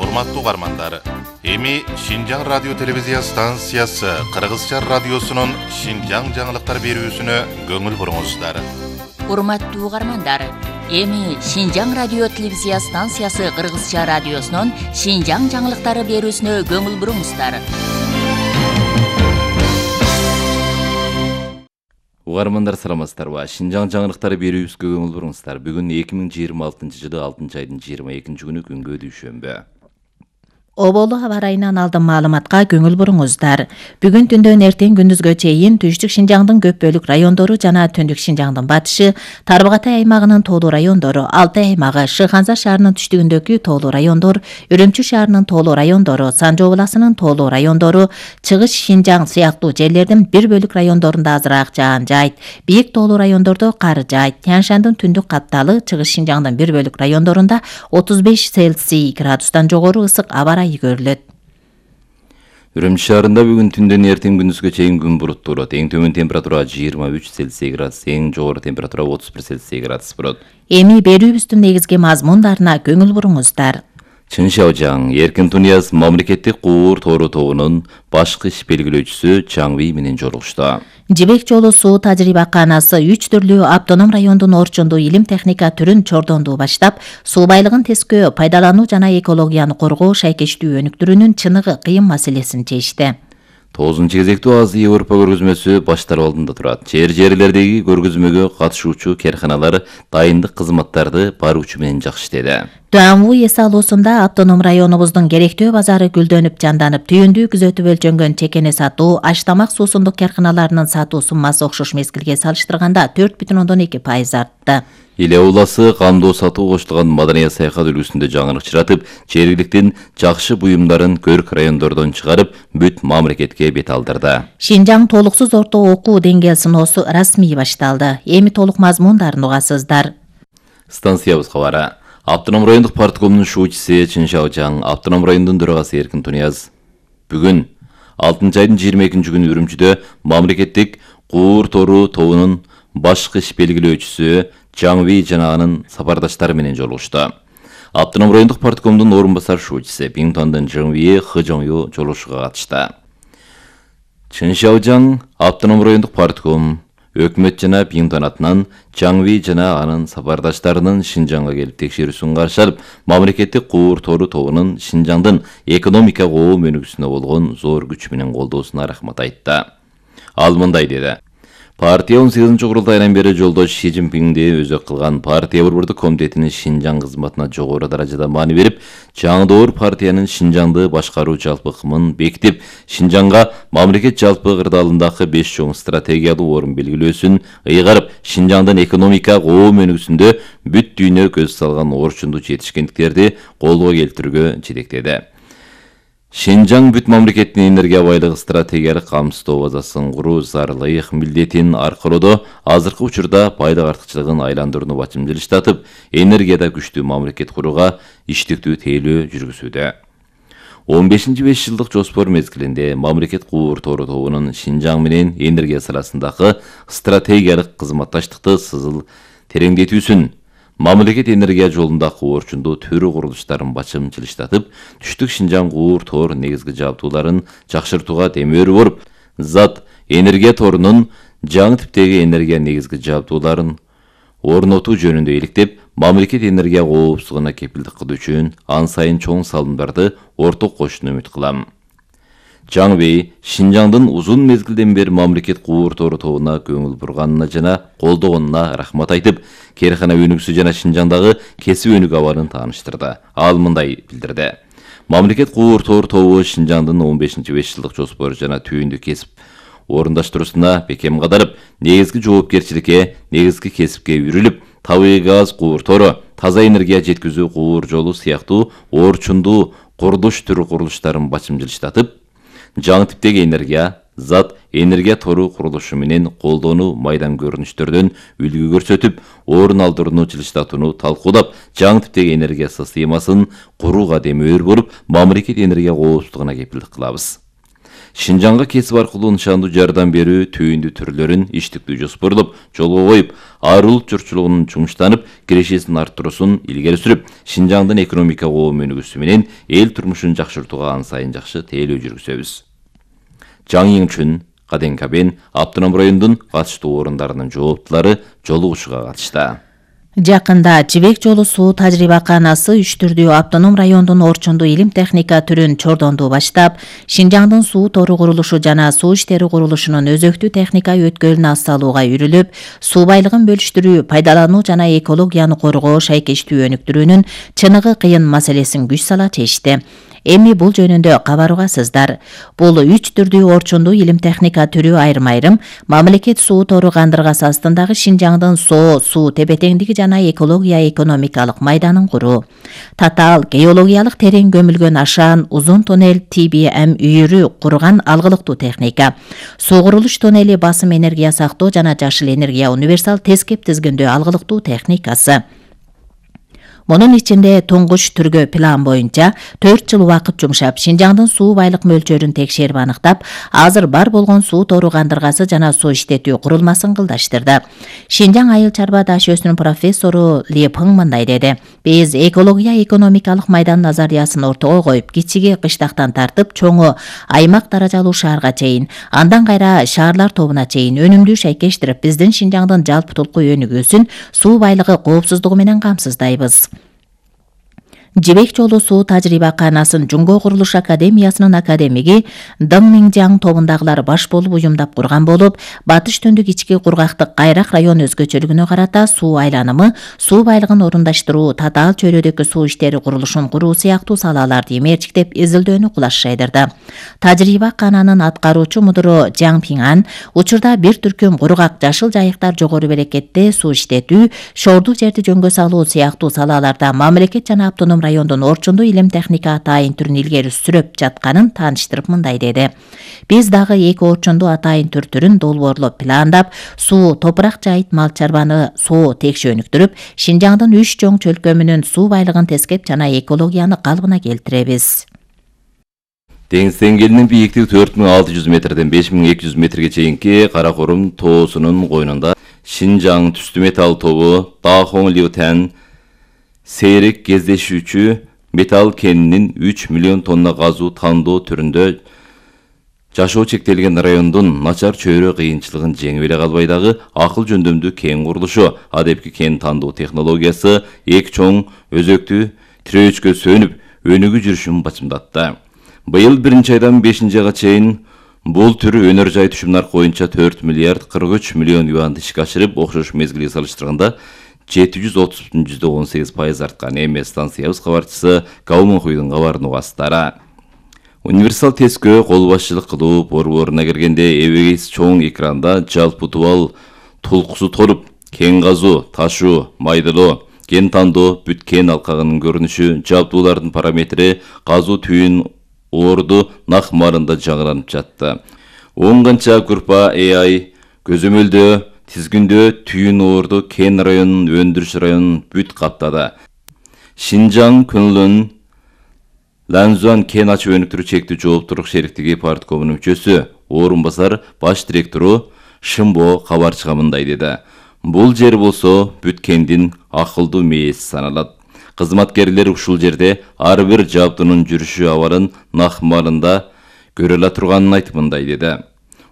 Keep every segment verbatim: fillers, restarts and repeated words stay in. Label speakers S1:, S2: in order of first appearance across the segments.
S1: Урматтуу угармандар, эми Шинжаң радио телевизия станциясы Кыргызча радиосунун Шинжаң жаңылыктар берүүсүнө көңүл буруңуздар.
S2: Урматтуу угармандар, эми Шинжаң радио телевизия станциясы Кыргызча радиосунун Шинжаң жаңылыктары берүүсүнө көңүл буруңуздар.
S3: Угармандар саламатсыздарбы? Шинжаң жаңылыктары берүүбүзгө көңүл буруңуздар. Бүгүн эки миң жыйырма алтынчы жылы алтынчы айдын жыйырма экинчи күнү күнгө дүйшөмбү.
S4: Оболу аба райынан алдын маалыматка көңүл буруңуздар. Бүгүн түндөн эртең күндүзгө чейин Түштүк Шинжаңдын көп бөлүк райондору жана Түндүк Шинжаңдын батышы, Тарбагатай аймагынын тоолуу райондору, Алтай аймагы, Шыханза шаарынын түштүгүндөгү тоолуу райондор, Үрүмчү шаарынын тоолуу райондору, Санжоо областынын тоолуу райондору, Чыгыш Шинжаң сыяктуу жерлердин бир бөлүк райондорунда азыраак жаан жайт. Бийик тоолуу райондордо кар жайт. Тянь-Шандын түндүк капталы, Чыгыш Шинжаңдын бир бөлүк райондорунда отуз беш Цельсий градустан жогору ысык аба райы көрүлөт.
S3: Үрүмчү шаарында бүгүн түндөн эртең күндүзгө чейин күн буруттуу болот. Эң төмөн температура жыйырма үч Цельсий градус, эң жогору температура отуз бир Цельсий градус болот.
S4: Эми берүүбүздүн негизги мазмундарына көңүл буруңуздар.
S3: Чыншаожаң Эркин Тунияз мамлекеттик куур тору тобунун башкы иш белгилөөчүсү Чаңви менен жолугушту.
S4: Жибек жолу суу тажрыйбаканасы үч түрлүү автоном райондун орчундуу илим техника түрүн чордонду баштап, суу байлыгын тескөө, пайдалануу жана экологияны коргоо шайкештүү өнүктүрүүнүн чыныгы кыйын маселесин чечти.
S3: тогузунчу кезектүү Азия Европа көргөзмөсү башталуу алдында турат. Жер жерлердеги көргөзмөгө катышуучу карканалар дайындык кызматтарды баруучу менен жакшы иштеди.
S4: Туамву эс алуусунда автоном районубуздун керектөө базары гүлдөнүп жанданып, түйүндүү күзөтүп өлчөнгөн чекене сатуу, аш-тамак суусундук карканаларынын сатуу суммасы окшош мезгилге салыштырганда төрт бүтүн ондон эки пайыз артты.
S3: Иле уласы камдоо сатуу коштулган маданият саякат үлгүсүндө жаңылык чыратып, жергиликтин жакшы буюмдарын көрк райондордон чыгарып, бүт мамлекетке бет алдырды.
S4: Шинжаң толуксуз орто окуу деңгээл сыноосу расмий башталды. Эми толук мазмундарын угасыздар.
S3: Станциябыз кабары. Автоном райондук парткомдун шуучусу Чыншаожаң автоном райондун төрагасы Эркин Тунияз бүгүн алтынчы айдын жыйырма экинчи күнү Үрүмчүдө мамлекеттик куур тору тобунун башкы иш белгилөөчүсү Чаңви жана анын сапардаштары менен жолугушту. Автоном райондук парткомдун орун басар шуучусу Биңтондун Жыңви Хыжоңю жолугушууга катышты. Чыншаожаң автоном райондук партком өкмөт жана Биңтон атынан Чаңви жана анын сапардаштарынын Шинжаңга келип текшерүүсүн каршы алып, мамлекеттик куур тору тобунун Шинжаңдын экономика коом өнүгүүсүнө болгон зор күч менен колдоосуна рахмат айтты. Ал мындай деди: Партия он сегизинчи курултайынан бери жолдош Си Цзиньпинди өзөк кылган партия борбордук комитетинин Шинжаң кызматына жогору даражада маани берип, жаңдоор партиянын Шинжаңды башкаруу жалпы ыкмын бекитип, Шинжаңга мамлекет жалпы кырдаалындагы беш чоң стратегиялуу орун белгилөөсүн ыйгарып, Шинжаңдын экономика коом өнүгүүсүндө бүт дүйнө көз салган орчундуу жетишкендиктерди колго келтирүүгө жетектеди. Шинжаң бүт мамлекеттин энергия байлыгы стратегиялык камсыздоо базасын куруу зарылык милдетин аркылоодо азыркы учурда байлык артыкчылыгын айландырууну бачымдылыштатып, энергияда күчтүү мамлекет курууга иштиктүү тейлөө жүргүзүүдө. он бешинчи беш жылдык жоспор мезгилинде мамлекет куур тору тобунун Шинжаң менен энергия саласындагы стратегиялык кызматташтыкты сызыл тереңдетүүсүн, мамлекет энергия жолундагы орчундуу төрү курулуштарын бачымчылыштатып, Түштүк Шинжаң куур тор негизги жабдууларын жакшыртууга демөөрү болуп, зат энергия торунун жаңы типтеги энергия негизги жабдууларын орнотуу жөнүндө иликтеп, мамлекет энергия коопсуздугуна кепилдик кылуу үчүн ан сайын чоң салымдарды орток кошууну үмүт кылам. Чаңви Шинжаңдын узун мезгилден бери мамлекет куур тору тобуна көңүл бурганына жана колдогонуна рахмат айтып, каркана өнүгүүсү жана Шинжаңдагы кесип өнүгүү абалын тааныштырды. Ал мындай билдирди: Мамлекет куур тору тобу Шинжаңдын он бешинчи беш жылдык жоспору жана түйүндүү кесип орундаштыруусуна бекем кадалып, негизги жоопкерчиликке, негизги кесипке үрүлүп, табигый газ куур тору, таза энергия жеткизүү куур жолу сыяктуу орчундуу курулуш түрү курулуштарын бачымчылыштатып, жаңы типтеги энергия, зат энергия тору курулушу менен колдонуу майдан көрүнүштөрдөн үлгү көрсөтүп, орун алдырууну жылыштатууну талкуулап, жаңы типтеги энергия системасын курууга демөөр болуп, мамлекет энергия коопсуздугуна кепилдик кылабыз. Шинжаңга кесип аркылуу нышандуу жардам берүү түйүндүү түрлөрүн иштиктүү жоспорлоп жолго коюп, ар улут журтчулугунун жумуштанып, кирешесин арттыруусун илгери сүрүп, Шинжаңдын экономика коом өнүгүүсү менен эл турмушун жакшыртууга ан сайын жакшы тейлөө жүргүзөбүз. Жаң Йиңчүн, Каден Кабен автоном райондун катыштуу орундарынын жооптулары жолугушууга катышты.
S4: Жакында Жибек жолу суу тажрыйбаканасы үч түрдүү автоном райондун орчундуу илим техника түрүн чордонду баштап, Шинжаңдын суу тору курулушу жана суу иштери курулушунун өзөктүү техника өткөлүн ассалууга үрүлүп, суу байлыгын бөлүштүрүү, пайдалануу жана экологияны коргоо шайкештүү өнүктүрүүнүн чыныгы кыйын маселесин күч сала чечти. Эми бул жөнүндө кабарыгасыздар. Бул үч түрдүү орчундуу илим техника түрү айрым-айрым мамлекет суу тору кандыргасы астындагы Шинжаңдын соо, суу тепе-теңдиги жана экология экономикалык майданын куруу. Татаал геологиялык терең көмүлгөн ашаан узун тоннель Ти Би Эм үйүрү курган алгылыктуу техника. Суу курулуш тоннели басым энергия сактоо жана жашыл энергия универсал тескеп тизгиндөө алгылыктуу техникасы. Мунун ичинде туңгуч түргө план боюнча төрт жыл убакыт жумшап, Шинжаңдын суу байлык мөлчөрүн текшерип аныктап, азыр бар болгон суу тору кандыргасы жана суу иштетүү курулмасын кылдаштырды. Шинжаң айыл чарба даш өсүнүн профессору Ли Пың мындай деди: "Биз экология экономикалык майдан назариясын ортого коюп, кичиги кыштактан тартып, чоңу аймак даражалуу шаарга чейин, андан кайра шаарлар тобуна чейин өнүмдүү шайкештирип, биздин Шинжаңдын жалпытулку өнүгүүсүн, суу байлыгы коопсуздугу менен камсыздайбыз." Жибек жолу суу тажрыйбаканасын Жунго курулуш академиясынын академиги Дың Миңжаң тобундагылар баш болуп уюмдап курган болуп, батыш түндүк ички кургактык кайрак район өзгөчөлүгүнө карата суу айланымы, суу байлыгын орундаштыруу, татаал чөйрөдөгү суу иштери курулушун куруу сыяктуу салаларды эмерчиктеп изилдөөнү кулаш жайдырды. Тажрыйбакананын аткаруучу мудуру Жаң Пиңан учурда бир түркүм кургак жашыл жайыктар жогору берекетте суу иштетүү, шоордук жерди жөнгө салуу сыяктуу салаларда мамлекет жана автоном райондун орчундуу илим техника атайын түрүн илгери сүрөп жатканын тааныштырып мындай деди: "Биз дагы эки орчундуу атайын түр түрүн долбоорлоп пландап, суу, топурак жайыт мал чарбаны соо текше өнүктүрүп, Шинжаңдын үч чоң чөлкөмүнүн суу байлыгын тескеп жана экологияны калыбына келтиребиз."
S3: Деңиз деңгээлинин бийиктиги төрт миң алты жүз метрден беш миң эки жүз метрге чейинки Каракорум тоосунун койнунда Шинжаң түстүү металл тобу Дахоң Лиутен сейрек кездешүүчү металл кенинин үч миллион тонна газуу тандоо түрүндө жашоо чектелген райондун начар чөйрө кыйынчылыгын жеңип эле калбай дагы акыл жөндөмдүү кен курулушу, адепки кен тандоо технологиясы эки чоң өзөктүү тирөөчкө сөнүп өнүгүү жүрүшүн бачымдатты. Быйыл биринчи айдан бешинчи айга чейин бул түр өнөр жай түшүм наркы боюнча төрт миллиард кырк үч миллион юанды ишке ашырып, окшош мезгилге салыштырганда жети жүз отуз бүтүн жүздөн он сегиз пайыз арткан. Эми станциябыз кабарчысы Кауманхуйдун кабарын угасыздар. Универсал тескөө кол башчылык кылуу борборуна киргенде эбегейс чоң экранда жалпы тубал тулкусу торуп, кен казуу, ташуу, майдалоо, кен тандоо, бүт кен алкагынын көрүнүшү, жабдуулардын параметри, казуу түйүн орду нак марында жаңыланып жатты. он канча группа Э Ай көзөмөлдөө тизгиндөө түйүн орду кен районунун өндүрүш районун бүт каптады. Шинжаң Күнлүн Ланзуан кен ачып өнүктүрүү чектүү жооптуулук шериктиги парткомунун мүчөсү, орун басар баш директору Шымбо кабарчыга мындай деди: "Бул жер болсо бүт кендин акылдуу мээси саналат. Кызматкерлер ушул жерде ар бир жабдуунун жүрүшү абалын нак марында көрө ала турганын айтып мындай деди: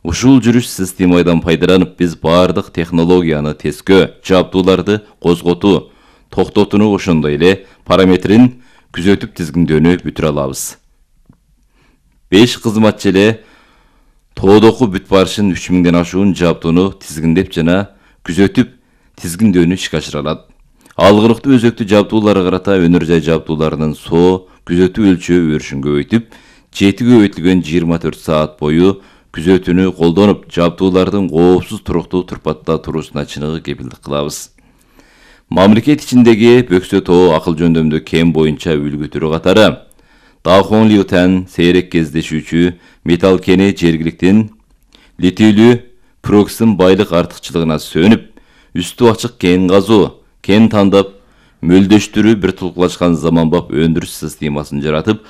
S3: Ушул жүрүш системадан пайдаланып, биз бардык технологияны тескөө, жабдууларды козготуу, токтотууну ошондой эле параметрин күзөтүп тизгиндөөнү бүтүрө алабыз. беш кызматчы эле тоодоку бүт барышын үч миңден ашуун жабдууну тизгиндеп жана күзөтүп тизгиндөөнү ишке ашыра алат. Алгылыктуу өзөктүү жабдууларга карата өнөр жай жабдууларынын соо күзөтүү өлчөө өрүшүн көбөйтүп, жети көбөйтүлгөн жыйырма төрт саат бою күзөтүүнү колдонуп, жабдуулардын коопсуз туруктуу турпатта туруусуна чыныгы кепилдик кылабыз. Мамлекет ичиндеги Бөксө тоо акыл жөндөмдүү кен боюнча үлгү түрү катары Дахоң Лиутен сейрек кездешүүчү металл кени жергиликтин литийлүү проксын байлык артыкчылыгына сөнүп, үстү ачык кен казуу, кен тандап, мөлдөштүрүү бир тулкулашкан заманбап өндүрүш системасын жаратып,